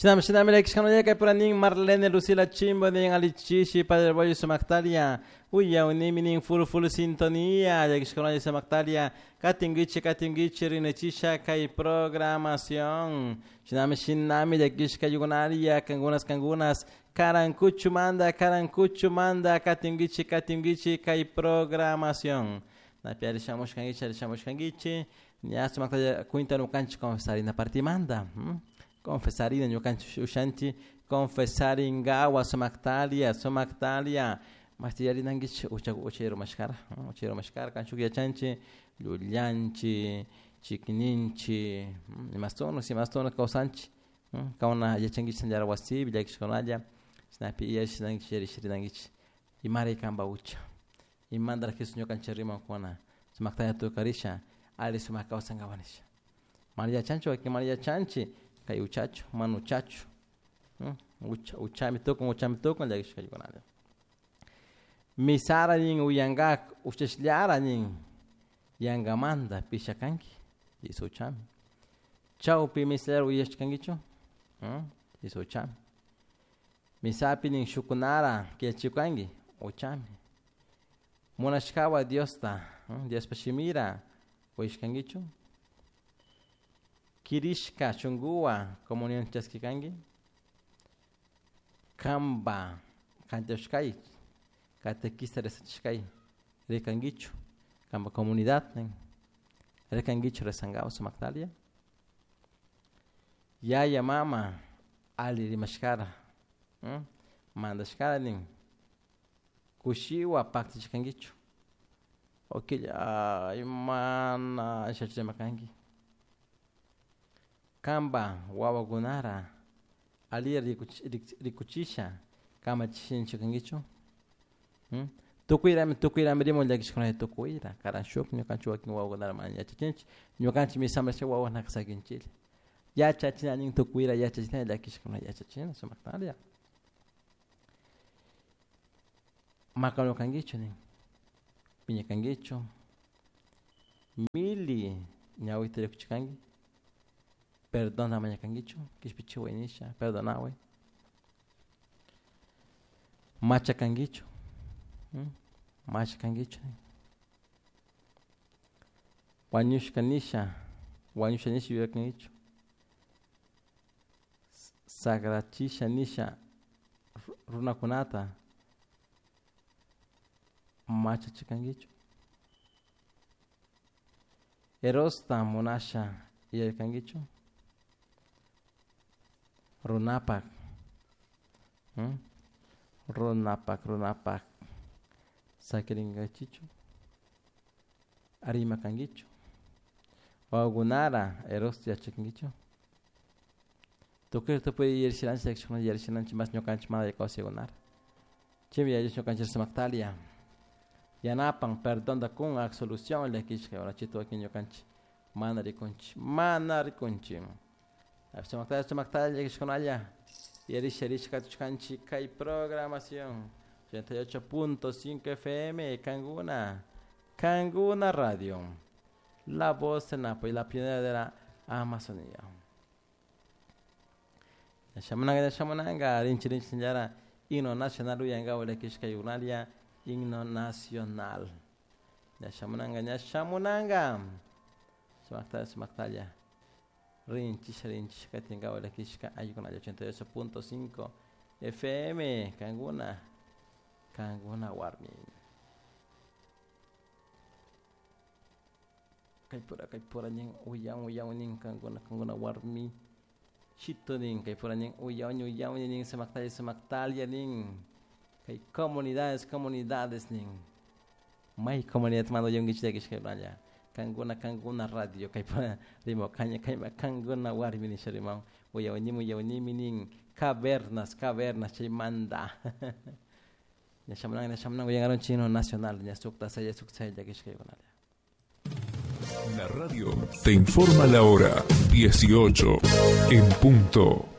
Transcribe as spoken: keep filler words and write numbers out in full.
Shinami shinami llakishkanalla kay pura nin Marlene Lucila Chimbo nin alichishi Padre Bollo Sumactalia uyawnimi nin full full sintonía llakishkanalla Sumactalia katinguichi katinguichi rinechisha kay programación shinami shinami llakishka yugunaria kangunas kangunas karankuchu manda karankuchu manda katinguichi katinguichi kay programación napi arishamushkanguichi arishamushkanguichi ña Sumactalia cuinta nukanchik confesarina partimanda hmm? Confesarina ñukanchik ushanchi confesaringawa Sumactalia Sumactalia mastiyarinankichik ucha uchayru mashkara uchayru mashkara kanchuk yachanchik llullanchik chikninchik imastunus imastunus kawsanchik kawna yachankichik sanllara wasipi llakishkunalla chaypi yachashinankichik yarishirinankichik imari kanpa ucha imantara Jesús ñukanchik rimankuna Sumactalia tukarisha ali sumak kawsankawa nisha mana yachanchik wakin mana yachanchik kay uchachu mana uchachu ucha uchami tukun uchami tukun llakishkaykunalla misara nin uyankak uchashllara nin yankamanta pishakanki chaysi uchami chawpi misallara uyashkankichu chaysi uchami misapi nin shukunara killachikanki uchami munashkawa Diosta Diospa shimira uyashkankichu kirishka shunkuwa comunión chaskikanki kanpa kantashkay catequista rezachishkay rikankichu kanpa comunidad nin rikankichu rezankawa Sumactalia yaya mama ali rimashkara mandashkara nin kushiwa paktachishkankichu o killa ay mana shachirimakanki kanpa wawakunara alira rikuchisha kamachishinchikankichu tukuyrami tukuyrami rimun llakishkunalla tukuyra karan shuk ñukanchik wakin wawakunara mana yachachinchik ñukanchik misamashka wawakunaka sakinchiklla yachachina nin tukuyra yachachina llakishkunalla yachachina Sumactalia makanukankichu nin piñakankichu mili ñawita rikuchikanki perdona mañakankichu kishpichiway nisha perdonaway machakankichu machakankichu wañushka nisha wañusha nisha yuyarkankichu sagrachisha nisha runakunata machachikankichu Erosta munasha yuyarkankichu runapak hmm? Runapak runapak sakirinkachichu rimakankichu wawakunara erosta yachakankichu tukuy tukuy yarishinanchik llakishkuna yarishinanchik mas ñukanchik mana kawsaykunara chaymi yallish ñukanchik Sumactalia yanapan perdonta kun absolución llakishka chayta wakin ñukanchik mana rikunchik mana rikunchik Sumactalia Sumactalia llakishkunalla yarisha yarisha katushkanchik kay programación ochenta y ocho punto cinco F M Kanguna Kanguna Radio la voz de Napo y la pionera de la Amazonía Shamunanga shamunanga rinchi rinchi sinjara himno nacional uyangawa llakishkaykunalla himno nacional shamunanga shamunanga Sumactalia Sumactalia rinchisha rinchisha katinkawa llakishka aykunalla ochenta y ocho punto cinco F M Kanguna Kanguna warmi kaypura kaypura nin uyawn uyawn nin kankuna kankuna warmi chito nin kaypura nin uyawn uyawn nin Sumactalia Sumactalia nin kay comunidades comunidades nin may comunidad mando yunkichik llakishkaykunalla kankuna kankuna radio kaypura rimo kaña kayma kankuna warmi nisha rimaw uyawnimi uyawnimi nin cavernas cavernas chaymanta ña shamunanga ña shamunanga uyankaronchik himno nacional ña sukta saya sukta saya llakishkaykunalla. La radio te informa la hora dieciocho en punto.